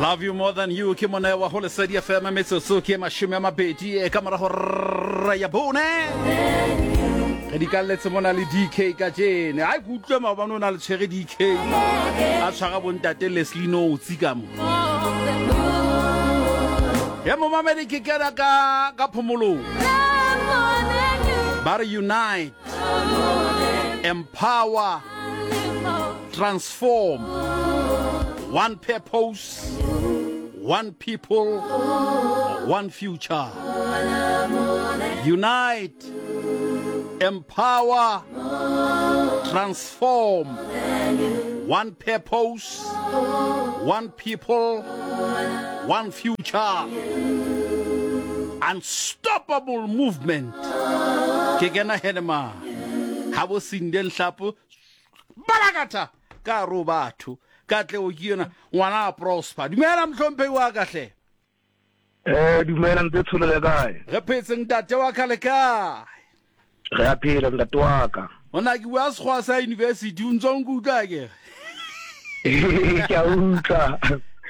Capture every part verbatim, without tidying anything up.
Love You More Than You ke mona wa ho Lesedi F M metsotso ke mashome a mabedi e ka morago ra ya bone. Re di kalletse mona le D K kajeno. Ha ke utlwe maobane o na le tshwere D K. A tshwara bontate Leslie Notes ka mo. Ya momamedi ke kena ka ka phomolong. Ba re unite, empower, transform. One purpose, one people, one future. Unite, empower, transform. One purpose, one people, one future. Unstoppable movement. Ke kena henema. Ha bo sinde nhlapo balakata ka ro batho. Ka tle o ke yona ngwana a prosper. Dumela mhlomphe wa ka hle. Eh dumela ntse tsholo le kae? Re phetse ntate wa ka le kae? Re a phela ntate wa ka. Ona ke bua sekgowa sa university o ntse o nkutlwa ke? Ke a utlwa.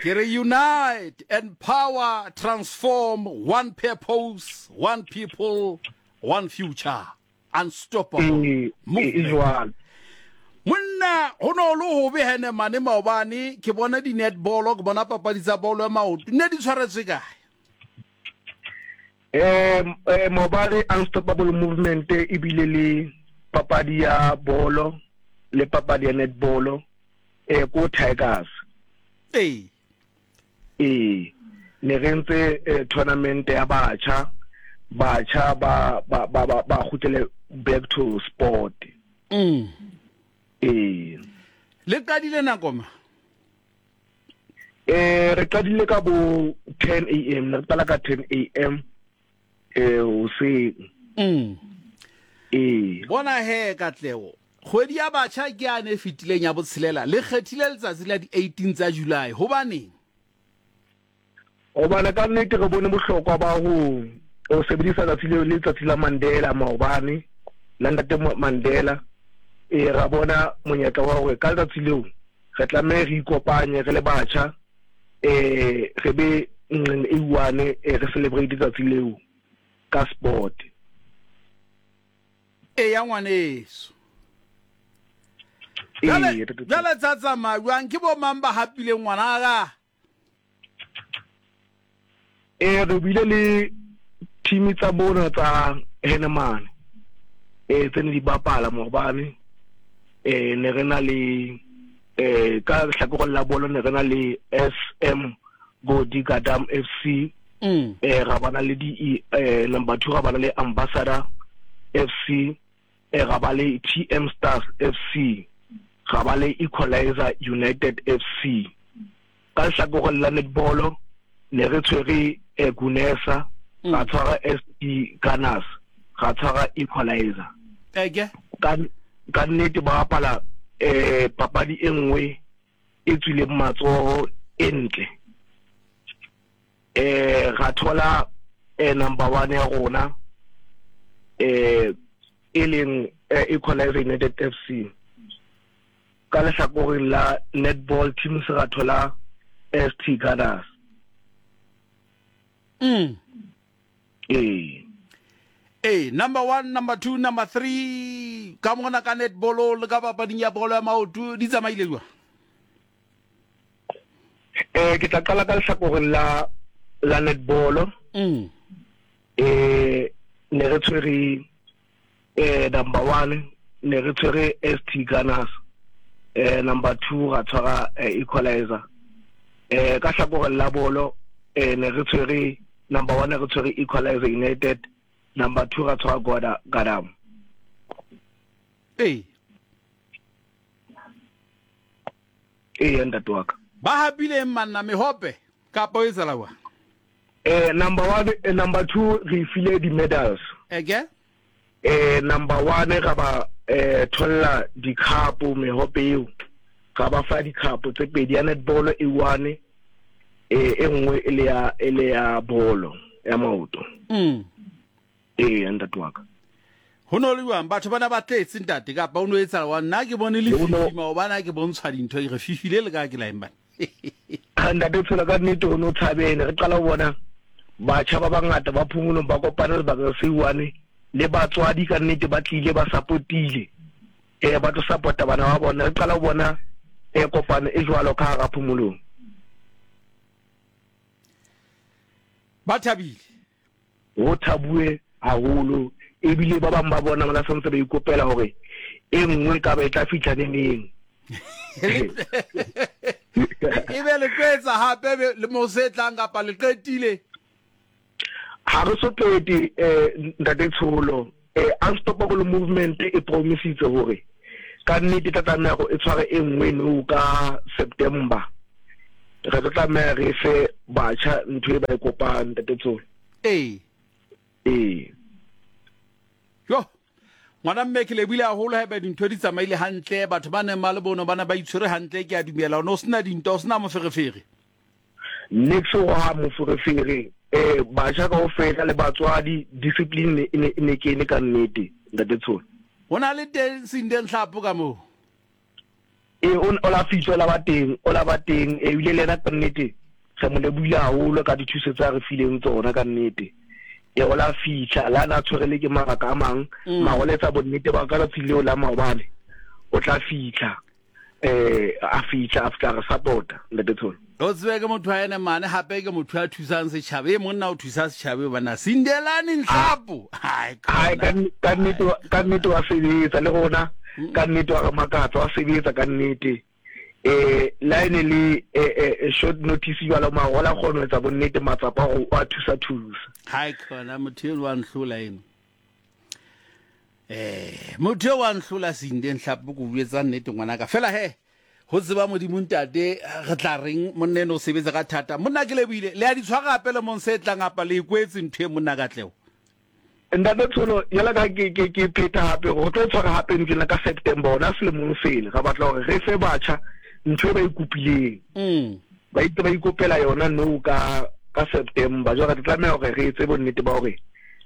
Ke re unite, empower, transform, one purpose, one people, one future. Unstoppable movement. Monna ho no le hobe hene mane maobane ke bona di netball ke bona papadi tsa bolo ya maoto ne di tshwaretswe kae? Eh eh maobane Unstoppable Movement e bile le papadi ya bolo le papadi ya netball eh ko Tigers. Eh eh ne re ntse tournament ya batjha batjha ba ba ba ba kgutlele back to sport. Mm. Eh le qadile nako ma? Eh re qadile ka bo ten A M, re qala ka ten A M eh hoseng. Mm. Eh bona he Katlego kgwedi ya batjha ke ane e fetileng ya botshelela le kgethile letsatsi la di eighteen tsa July hobaneng? Hobane ka nnete re bone bohlokwa ba ho o sebedisa letsatsi leo le letsatsi la Mandela maobane la ntate Mandela. E ra bona monyetla wa hore ka letsatsi leo re tlameha re ikopanye re le batjha eh re be nqeng e one re celebrate letsatsi leo ka sport. E ya ngwaneso. Jale jale tsa tsamaya jwang ke bo mang ba hapileng ngwana ka? Eh re bile le team tsa bona tsa Henemane eh tse ne di bapala maobane. Eh ne re na le eh ka hlakoreng la bolo ne re na le S M Godi Gadam F C. Mm. Eh ra bana le di eh number two ra bana le Ambassador F C, eh ra ba le T M Stars F C, ra ba le Equalizer United F C. Ka hlakoreng la netball ne re tshwere eh Gunesa, ra tshwara S T Gunners, ra tshwara Equalizer. Eke ka ka nnete ba bapala eh papadi e nngwe e tswileng matsoho e ntle. Eh ra thola eh number one ya rona eh e leng Equalizer United F C. Ka lehlakoreng la netball team se ra thola S T Gunners. Mm. Eh Eh, number one, number two, number three, ka mona ka netball le ka papading ya bolo ya maoto di tsamaile jwang? Eh ke tla qala ka lehlakoreng la la netball. Mm. Eh ne re tshwere eh number one ne re tshwere S T Gunners. Eh number two ra tshwara Equalizer. Eh ka hlakoreng la bolo eh ne re tshwere number one re tshwere Equalizer United. Number two ra tshwara Goda Gadam. Eh. Eh ntate wa ka. Ba hapile manna mehope kapa o etsala wa? Eh number one eh, number two re file di medals. Eke? Eh number one ra ba eh tholla di cup mehope eo. Ra ba fa di cup tse pedi ya netball e one eh e nngwe e le ya e le ya bolo ya maoto. Mm. Eh ntate wa ka. Ho no le jwang batho bana ba tletse ntate kapa o no etsa wa nna ke bone le fifi maobane ke bontshwa dintho ke re fifile le ka ke la eng bana. Ntate Tsholo, ka nnete o no tshabene. Re qala ho bona batjha ba bangata ba Phomolong ba kopana sebakeng se one le batswadi, ka nnete ba tlile ba support-ile, eh ba tlo support-a bana ba bona. Re qala ho bona eh kopano e jwalo ka hara Phomolong. Ba thabile, ho thabuwe haholo, ebile ba bang ba bona ba santse ba ikopela hore e nngwe ka ba e tla fihla neneng. E be le tlo etsa hape le mo se tlang kapa le qetile? Ha re so qete, eh ntate Tsholo. Eh Unstoppable Movement e promisitse hore ka nnete tla tlameha hore e tshware e nngwe no ka September. Re tlo tlameha re fe batjha ntho e ba e kopang, ntate Tsholo. Ee. Ee. Jo, ngwana mme, ke lebile haholo haeba dintho di tsamaile hantle, batho ba neng ba le bono ba ne ba itshwere hantle. Ke a dumela o ne o sena dintwa, o sena moferefere. Niks ho ha moferefere. Eh batjha kaofela le batswadi, discipline e ne e ne kene ka nnete, ntate Tsholo. Ho na le teng Sinde Nhlapo ka moo? E, o o la fihla, o la ba teng, o la ba teng, ebile le yena ka nnete re mo lebohile haholo ka dithuso tsa re fileng tsona ka nnete. E, o la fihla le ha na tshwerele ke mabaka a mang, mara o letsa bonnete ba ka tsatsi leo la maobane o tla fihla, eh a fihla a fihla re support-a, ntate Tsholo. O tsebe ke motho wa ene mane, hape ke motho ya thusang setjhaba. E monna o thusa setjhaba bana, Sindelani Nhlapo. Hai, ka nnete, ka nnete wa sebetsa le rona, ka nnete wa re makatsa, wa sebetsa ka nnete. Eh la ene le eh short notice jwalo, mara o la kgona ho etsa bonnete matsapa hore o a thusa thusa. Hai khona, motho eno wa nhlola eno. Eh motho eo wa nhlola, Sinde Nhlapo, ko buetsa nnete ngwanaka. Fela he, ho tseba Modimo ntate, re tla reng, monna eno o sebetsa ka thata. Monna, ke lebohile. Le a di tshwara hape le mong se tlang apa le ikwetse ntho e, monna Katleho? Ntate Tsholo, yala ka ke ke ke phetha hape ho tlo tshwara hape ntsena ka September ona selemong sena. Re batla hore re fe batjha ntho e ba e kopileng. Mm. Ba itse ba ikopela yona no ka ka September. Jwale re tlameha hore re etse bonnete ba hore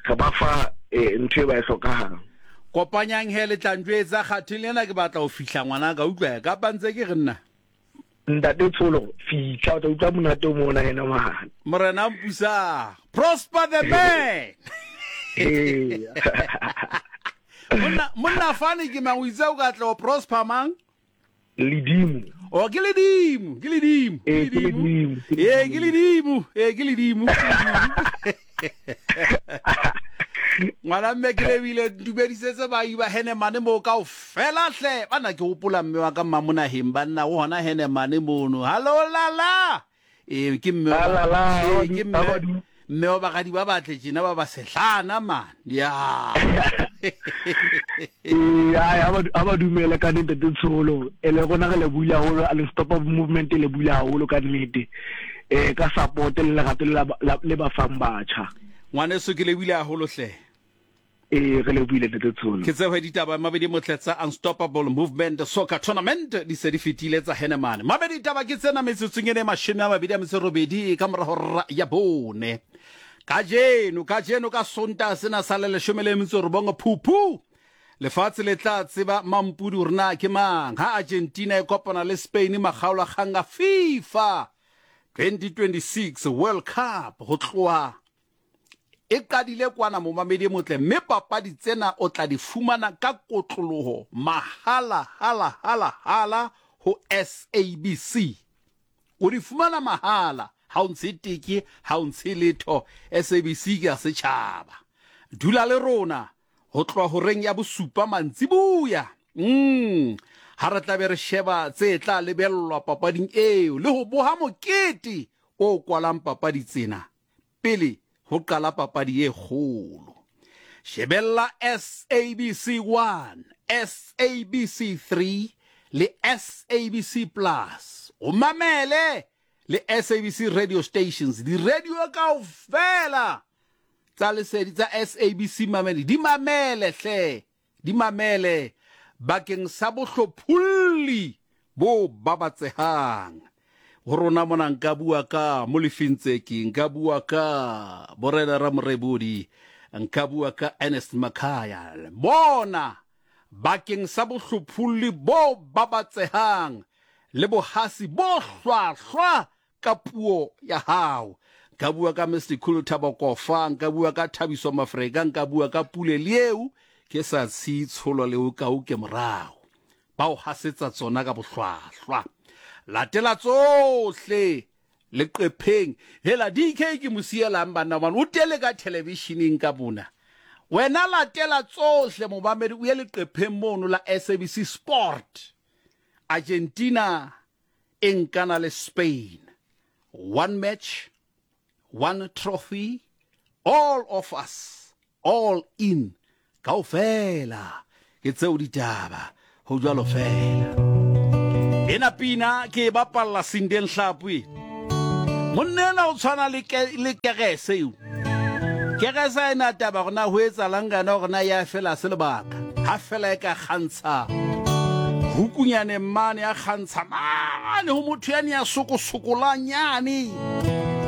re ba fa ntho e ba e hlokahang. Kopanyang he, le tla njwetsa kgatheng lena, ke batla ho fihla ngwanaka, utlwa kapa ntse ke re nna. Ntate Tsholo, fihla o tla utlwa monate o mona yena mane. Morena mpusa. Prosper the man. Ee. Monna, monna fane ke mang, o itse o ka tla o prosper mang? Ledimo. O ke ledimo, ke ledimo, ke ledimo. Ee, ke ledimo, ee, ke ledimo. Ngwana mme, ke lebile, dumedisetse baahi ba Henemane moo kaofela hle. Bana ke hopola mme wa ka Mmamonaheng, banna o hona Henemane mono. Hallo lala. Ee, ke mme wa ke mme mme wa baradi ba batle tjena ba ba sehlana man. Ya. Ee, a ba dumele ka nnete Tsholo. E le rona re le buile haholo, Unstoppable Movement le buile haholo ka nnete. Eh ka support le lerato le ba fang batjha. Ngwaneso, ke lebile haholo hle. Ee, re lebohile, ntate Tsholo. Ke tsebo ditaba mabedi motle tsa Unstoppable Movement Soccer Tournament di se di fetile tsa Henemane. Mabedi ditaba ke tsena metsotsong ene mashome a mabedi a metso robedi ka mora hora ya bone. Kajeno, kajeno ka Sontaha sena sa le leshome le metso robong Phupu, lefatshe le tla tseba mampudi hore na ke mang ha Argentina e kopana le Spain makgaolakgang a FIFA twenty twenty-six World Cup. Ho tloha e qadile kwana, momamedi e motle, mme papadi tsena o tla di fumana ka kotloloho mahala, hala hala hala ho S A B C. O di fumana mahala, ha o ntshe teke, ha o ntshe letho. S A B C ke ya setjhaba. Dula le rona ho tloha horeng ya bosupa mantsibuya. Mm. Ha re tla be re sheba tse tla lebellwa papading eo le ho boha mokete o kwalang papadi tsena pele ho qala papadi e kgolo. Shebella S A B C one, S A B C three le S A B C Plus. O mamele le S A B C radio stations, di radio kaofela tsa lesedi tsa S A B C mamele, di mamele hle, di mamele bakeng sa bohlopholli bo babatsehang. Ho rona mona nka bua ka Molefi Ntseki, nka bua ka Borena Ramorebodi, nka bua ka Ernest Makhaya. Bona bakeng sa bohlopholli bo babatsehang le bohasi bo hlwahlwa ka puo ya hao. Nka bua ka Mister Khulu Thabo Kofa, nka bua ka Thabiso Mafreka, nka bua ka Pule Lieu, ke sa tshitsholo le o ka o ke morao. Ba o hasetsa tsona ka bohlwahlwa. Latela tsohle leqepheng. Hela D K ke mosielang banna bana o tele ka televisioneng ka bona. Wena latela tsohle mobamedi o ye leqepheng mono la S A B C Sport. Argentina e nkana le Spain. One match, one trophy, all of us, all in. Kaofela ke tseo ditaba ho jwalo fela. Ena pina ke e bapalla Sindeng Hlapwe. Monna ena o tshwana le ke, le kerese eo. Kerese ena taba hore na ho etsahalang ka yona, hore na ya fela se lebaka. Ha fela e ka kgantsha hukunyane mane ya kgantsha mane ho motho yane ya sokosokolang yane.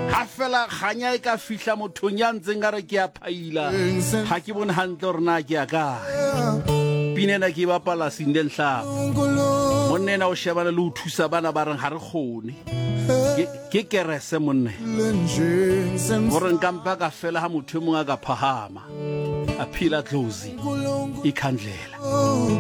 Ha fela kganya e ka fihla mothong ya ntseng a re ke a phaila. Ha ke bone hantle hore na ke ya kae. Pina ena ke e bapala Sindeng Hlapwe. Monna ena o shebana le ho thusa bana ba reng ha re kgone. Ke, ke kerese monna. Hore nka mpa ka fela ha motho e mong a ka phahama. A phila dlozi ikhandlela.